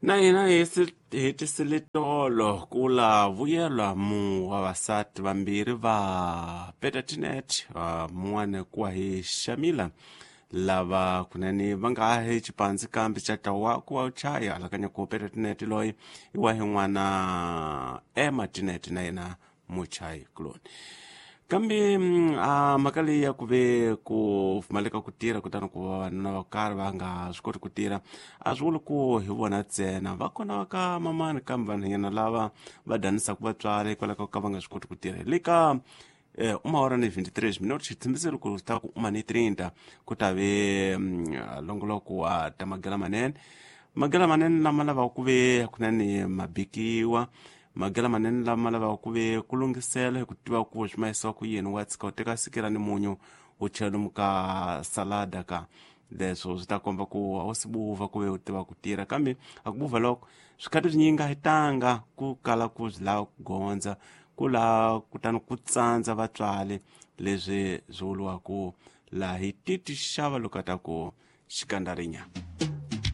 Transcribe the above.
Na hina hi hetisile tolo ku la vuyelwa mu vavasati vambirhi va Peter Tinet, mun'wana kuwa hi Shamila, lava kunene va nga ha xipandzi kambe xa tawa ku wa chaya alakanya ku Peter Tinet loyi i wa hi n'wana Emma Tinet na yena muchayi kuloni. Kambe a mhaka leyi ya ku ve ku pfumaleka ku tirha, kutani ku va vavanuna va karhi va nga swi koti ku tirha, a swi vuli ku hi vona ntsena. Va kona va ka mamani, kambe vanhwanyana lava va danisaka vatswari hikwalaho ka va nga swi koti ku tirha. Le ka uma hora ni 23 minutos, xitshembiso loko swi ta ku uma ni 30 ku ta ve longoloko wa ta magela manene, magela manene lama lavaka ku ve kunene mabikiwa, magela manene lama lavaka ku ve ku lunghisela hi ku tiva ku swi mahisiwa ku yini. Wa tshika u teka sikira ni munyu u chela lomu ka salada ka leswo swi ta komba ku a wu si buva ku ve u tiva ku tirha. Kambe a ku buva loko swikhati swinyingi a hi tanga ku kala ku swi lava ku gondza ku laha, kutani ku tsandza vatswari, leswi swi vuriwaku laha hi titi xava loko ta ku xikandarinya.